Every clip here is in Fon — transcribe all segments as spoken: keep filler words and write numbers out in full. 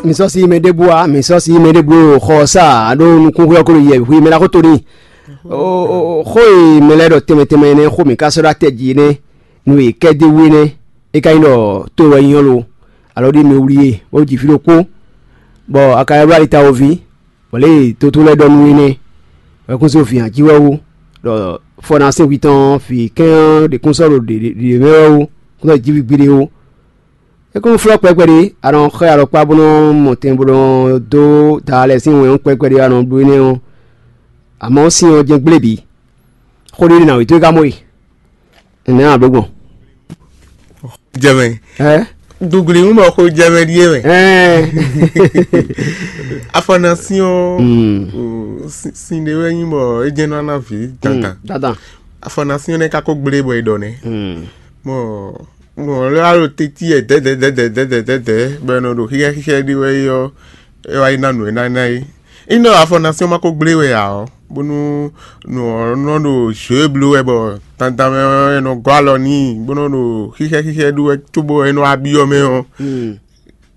Mi sɔ́ sí mɛ ɖěbǔ ǎ, mi sɔ́ sí mɛ ɖěbǔ ɖo xɔ ɔ́ sá ǎ, ɖó nukúnxwé ɔ́ ko ɖo yɛ wǐ mɛ ná xó to n'i. Xó e mɛ lɛ́ɛ ɖɔ tɛnmɛ tɛnmɛ énɛ́ xó mǐ ka sɔ́ ɖó atɛ jí énɛ́, nú è kɛ dó wú énɛ́, é ka nyí ɖɔ to wɛ nyí ɔ́ lo? Alɔ ɖi mi wlí e, bó ji fí ɖokpó, bɔ a ka ylɔ́ ali tawoví, bɔ lě e tótó lɛ́ɛ ɖɔ nú énɛ́, wɛ kún só vǐ jí wɛ wú, ɖɔ fɔ ná sín hwi tɔn vǐ kɛ́n ɔ́ ɖě kún sɔ́ ɖo ɖě mɛ wɛ wú, kún sɔ́ jí vǐ gbiɖe wú. É kún flɔ́ kpɛkpɛ ɖé, a nɔ xɔ alɔkpa bó nɔ mɔ tɛn bó nɔ dó da lɛ́ɛ sín wɛn ɔ́ kpɛkpɛ ɖé, a nɔ bló énɛ́ ɔ́, amɔ̌ sin ɔ́ jɛ́n gblé bǐ. Xó ɖé ɖe nǎ wětó é ka mɔ e. Nɛ̌ a blǒ gbɔn? Jɛmɛ. Ɛ? Dugli ń bɔ xo jɛmɛ ɖíe mɛ. Ɛ. Afɔnasi ɔ́, mm, o, si- sin ɖé wɛ nyí bɔ é jɛ́n nɔ ná vǐ dandan. Dandan. Afɔnasi ɔ́ nɛ́ ka ko gblé bɔ è ɖɔ nɛ́. Mm. Bɔ bɔ lɛ alo teti yɛ dɛdɛdɛdɛdɛdɛ bɔ è nɔ ɖo xixɛ xixɛ ɖi wɛ é ɔ́, é wá yi ná nǔ e ná ná é. Ínɔ afɔnasi ɔ́ ma ko gblé wɛ ǎ ɔ́, bónú nǔ ɔ́ nɔ ɖo jǒ e bló wɛ bɔ dandan mɛ ɔ́, è nɔ gɔ́ alɔ n'i bó nɔ ɖo xixɛ xixɛ ɖu wɛ cóbɔ è nɔ wá byɔ́ mɛ ɔ́,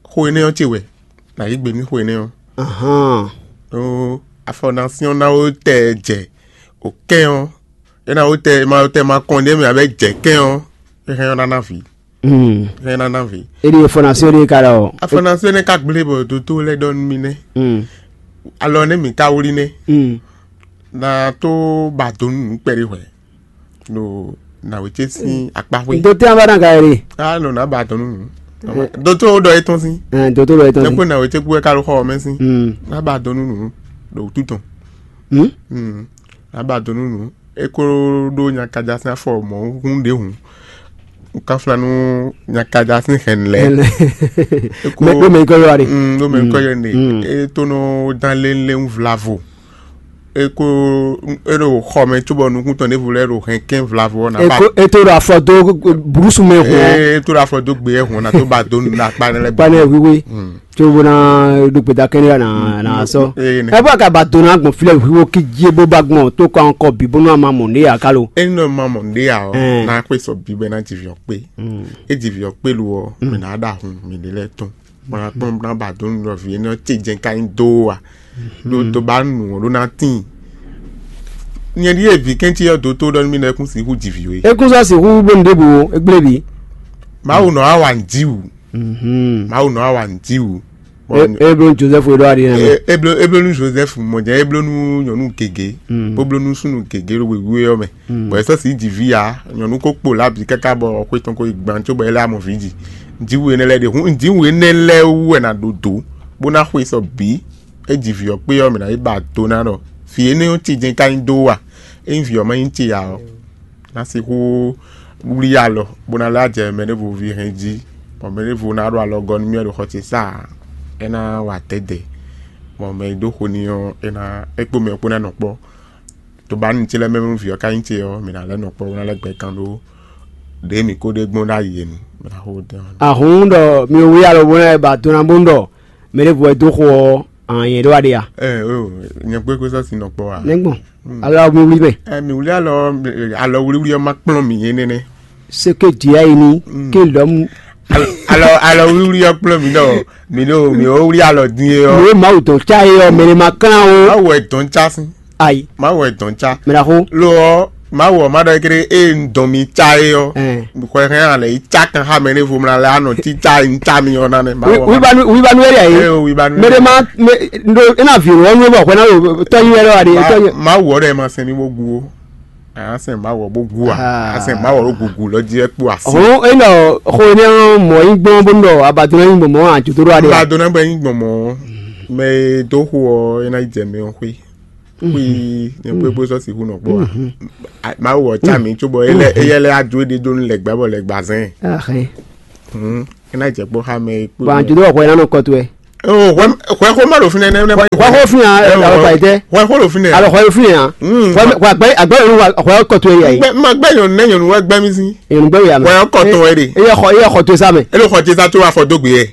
xo énɛ́ ɔ́ ce wɛ nǎ yí gbe nú xo énɛ́ ɔ́. Ahán. Ɖó afɔnasi ɔ́ ná wó tɛ jɛ o kɛn ɔ́, é ná wó tɛ ma tɛ ma kɔn ɖé mɛ abɛ jɛ kɛn ɔ́, é hɛn ɔ́ ná ná vǐ. Mm. É hɛn ná ná vǐ. Eɖi fɔnasi ɖe ka lɔ. Afɔnasi énɛ́ ka gblé bɔ dótó lɛ́ɛ ɖɔ nú mì nɛ́. Mm. Alɔ nɛ́ mǐ ka wlí nɛ́. Mm. Na tó ba do nú nǔ kpɛɖé hwɛ ɖo nǎwe ce sín akpa xwé. Dótó an bá ná ka yɛ ɖe. A nɔ ná ba do nú nǔ. Dótó ɖɔ é tɔn sín. Ɛ dótó ɖɔ é tɔn sín. Dɛkpé nǎwe ce kú wɛ ka lɔ xɔ ɔ́ mɛ sín. Mm. Ná ba do nú nǔ ɖo wútu tɔn. Hmm? Mm. Ná ba do nú nǔ. É kó ɖó nyakaja sín afɔ mɔ̌ hún ɖě hǔn. Kanflánú nyakaja sín hɛn lɛ. Mɛ ɖó mɛ nyí kɔ yɔ wa ɖe. Mm, ɖó mɛ nyí kɔ yɔ ɖe. Mm. É tó nɔ dán lé lé ń vlavo. É kó é ɖo xɔ mɛ cóbɔ nukún tɔn ɖěvo lɛ́ɛ ɖo hɛn kɛn vlavo ɔ́ ná ba. Ètò ìrọ̀ àfọ̀dó burúkú mɛ hùn ɔ́. Ee, é tó ɖo afɔdó gbé ɛ hùn ɔ́ ná tó ba dó nínú akpá nɛ́ lɛ́ɛ. Panɛ wíwé. Tso bó ná ɖó gbeda kɛnɛ na na sɔ. Ɛ bó ka ba dó ná gbɔn filɛ wíwo kí dzi bó ba gbɔn tó kɔ ankɔ bí bó nú ama mɔ ní yà ká lo. É nɔ ma mɔ ní yà ɔ, ná xwé sɔ bí bɛ ná dzi viɔ kpé. É dzi viɔ kpé lu ɔ, mɛ ná ɖa hun mɛ ɖé lɛ tɔn. Bó ná kpɔn bó ná ba dó nú ɖɔ vǐ énɛ́ ɔ́ ce jɛ́n ka nyí dó a. Ɖó tó ba nǔ ɔ́ ɖó ná tíin. Nyɛ ɖíe vǐ kɛ́ncí ɔ́ dó tó ɖɔ nú mì nɔ é kún sixú dzi vǐ we. É kún sɔ́ sixú bló nǔɖé bǔ ó, é gblé bǐ. Mawu nɔ á wa nǔ jí wǔ. Mawu nɔ á wa nǔ jí wǔ. É bló nú Josɛ́fu é ɖɔ aɖi nɛ́ mɛ. É bló é bló nú Josɛ́fu mɔ jɛ é bló nú nyɔ̌nu gěgé. Bó bló nú súnnu gěgé ɖo wěwé ɔ́ mɛ. Bɔ é sɔ́ sixú dzi vǐ ǎ, nyɔ̌nu ko kpo lǎbǐ káká bɔ xwé tɔn ko yi gban cóbɔ é lɛ́ amɔ vǐ ji. Nǔjíwǔ énɛ́ lɛ́ɛ ɖe hǔn nǔjíwǔ énɛ́ lɛ́ɛ wú wɛ nǎ ɖo dǒ bó ná xwe sɔ bǐ. É ji vǐ ɔ́ kpé ɔ́, mǐ ná yi ba do ná ɖɔ vǐ énɛ́ ɔ́ ce jɛ́n ka nyí dó a? Ényí vǐ ɔ́ ma nyí ce ǎ ɔ́, ná sixú wlí alɔ bó ná lɛ́ jɛ mɛ ɖěvo ví hɛn jí, bɔ mɛ ɖěvo ná ɖo alɔgɔ́ nú mì wɛ ɖo xɔ ce sá ǎ, é ná wa dɛ̌dɛ̌, bɔ mɛ e dó xo n'i ɔ́, é ná é kpó mɛ ɔ́ kpó ná nɔ kpɔ́. Tobanu ce lɛ́ɛ mɛ nú vǐ ɔ́ ka nyí ce ɔ́, mǐ ná lɛ́ nɔ kpɔ́ bó ná lɛ́ gbɛ kan ɖó ɖěe mǐ ko ɖe gbɔn ɖ'ayǐ é nu, mǐ ná xo ɖɛ ɔ́. Ahǔn ɖɔ mi wlí alɔ bó ná ba do ná bónú ɖɔ mɛ ɖěvo wɛ dó xo ɔ́, ǎ nyɛ ɖó aɖe a? Ɛ o, nyɛ kpé kpé sɔ́ sin nɔ kpɔ́ a? Nɛ́ gbɔn alɔ mi wlí mɛ. Ɛ mi wlí alɔ alɔ wlíwlí ɔ́ má kplɔ́n mǐ é nɛnɛ́. Seke jia yi ni ke lɔm. Alɔ alɔ wlíwlí ɔ́ kplɔ́n mǐ ɖɔ mǐ ɖo mǐ ó wlí alɔ dín é ɔ́. Mǐ Mawu dɔn cá é ɔ́, mɛ ɖé ma klán o. Mawu wɛ dɔn cá sín. Ayi. Mawu wɛ dɔn cá. Mɛ ɖaxó. Lo ɔ́ Mawu ɔ́ ma ɖɔ ékeré ée un dɔn mi cá é ɔ́. Xɔ hɛn alɛ yi cá kan xá mɛ ɖěvo mla lɛ anɔ títá yi cá mi ɔ́ ná nɛ. Mawu ɔ́ ma. Wíwánu wíwánu wɛ ɖe yìí. Ɛ o wíwánu. Mɛ ɖé ma mɛ ɖo ena vi wɔ nu bɔ xɔ na ɖo tɔnyi wɛ lɔ wa ɖe tɔnyi. Mawu ɔ́ ɖɛ ma sɛn mi bó gu o. Asɛn Mawu ɔ́ bó gu a. Asɛn Mawu ɔ́ ɖo gugu lɔ jí ɛ kpó asi. Ɔhɔn enɔ xɔ ne mɔ yi gbɔn bó nɔ abadona yi gbɔn mɔ ajodo ɖo aɖe. Abadona bɛ yi gbɔn mɔ mɛ e dó xo ɔ ena yi jɛ mɛ ɔ xwé. Xwé ne kpékpé sɔ sixú nɔ kpó a. Mawu ɔ tsa mi tso bɔ eyɛ lɛ adu ede do nu lɛ gbɛ bɔ lɛ gba zɛn. Ena jɛ kpó xa mɛ kpó. Bɔn ajodo ɔkɔ ena nɔ kɔtu ɛ. Hwɛ xó ma ɖo fínɛ́ nɛ́. Hwɛ xó fínɛ́ alɔ kpa yi tɛ. Hwɛ xó ɖo fínɛ́. Alɔ hwɛ ɖo fínɛ́ ya. Hwɛ agbɛ agbɛ yɛn wa hwɛ kɔtu ɛ yɛ. Ma gbɛ nyɔnu nɛ nyɔnu wɛ gbɛ mi si. Yɛn gbɛ ya mɛ. Hwɛ kɔtɔn wɛ de. Eyɛ xɔ eyɛ xɔ to sa mɛ. Elo xɔ tsa tó afɔ dó gbé yɛ.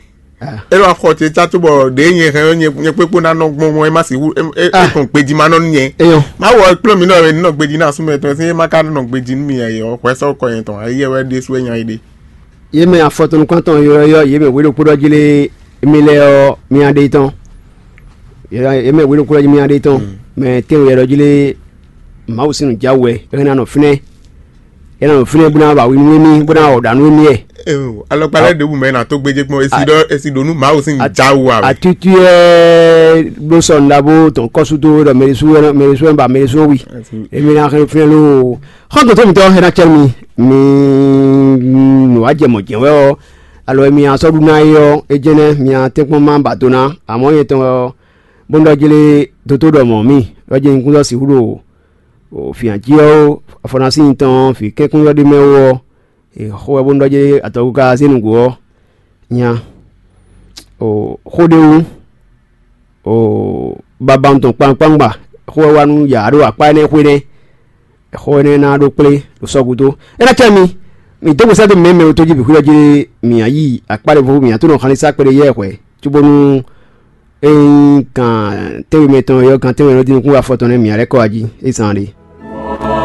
Elo afɔ tsa tó bɔ ɖe nyɛ hɛn nyɛ kpékpó na nɔ gbɔn mɔ ema si hu e kɔn gbedzi ma nɔ nyɛ. Eyɔ. Ma wɔ kplɔn mi nɔ wɛ nɔ gbedzi na sumɛ tɔn si ema ka nɔ gbedzi nu mi yɛ hwɛ sɔ kɔ yɛn tɔn ayi yɛ wɛ ɖe su enya yi ɖe. Yě mɛ afɔtɔnukpɔ́ntɔn ylɔ́ yɔ yě mɛ wěɖokpóɖɔ́ jí lé. Émí lɛ́ɛ ɔ́, mía ɖe tɔn. Yě mɛ wěɖokú lɛ́ɛ jí mía ɖe tɔn. Mɛ tɛ́nwe yɛ ɖɔ jí lé, Mawu sín nǔjáwú wɛ é hɛn ná nɔ fínɛ́. É ná nɔ fínɛ́ bó ná ba wi nú émí, bó ná wɔ ɖǎ nú émí wɛ. Alɔkpa lɛ́ɛ ɖěbǔ mɛ ná tó gbéjé gbɔn esi ɖɔ esi ɖo nú Mawu sín nǔjáwú wɛ. Atútú ɛ bló sɔ nɖaxó tɔn kɔ́súdó ɖɔ mɛɖésú wɛ ba mɛɖésú wi. Émí ná hɛn fínɛ́ lóo. Xɔ́ntɔn tó mitɔ́ é ná cɛ́ mi, mi nǔ wá jɛ mɔ̌ jɛ́n wɛ ɔ́, alɔ e mi nɔ sɔ́ ɖu ná é ɔ́, é jɛ́n nɛ́ mi nɔ tɛ́nkpɔ́n ma ba do ná. Amɔ̌ nyɛ tɔn ɔ́, bó nɔ jlé dótó ɖɔ mɔ̌ mì, ɖɔ jɛ́n nyikúntɔ́ sixú ɖo fǐnyají ɔ́ ó, afɔnasín tɔn ɔ́, vǐ kɛ́nkúnɖɔ ɖé mɛ wú ɔ́, è xo wɛ bó nɔ jlé atɔgúká zé nǔgbó ɔ́ nya. Xó ɖé wú, babawun tɔn kpankpangba, xó wɛ wá nú yǎ ɖo akpá énɛ́ xwé nɛ́. Xó énɛ́ ná ɖó kplé ɖo sɔ́ gúdo. É ná cɛ mi, mi dó gbe sɛ́ dó mǐ mɛ wútú jí bǐ xwíɖɔ jí mǐ ná yi akpá ɖěvo mǐ ná tó nɔ xan ní sá kpeɖé yɛ hwɛ̌, cóbónú ényí kan tɛ́nwe mɛtɔn yɔ kan tɛ́nwe nɔ dín nukún afɔ tɔn nɛ́ mǐ ná lɛ́ kɔ wá jí é zán ɖé.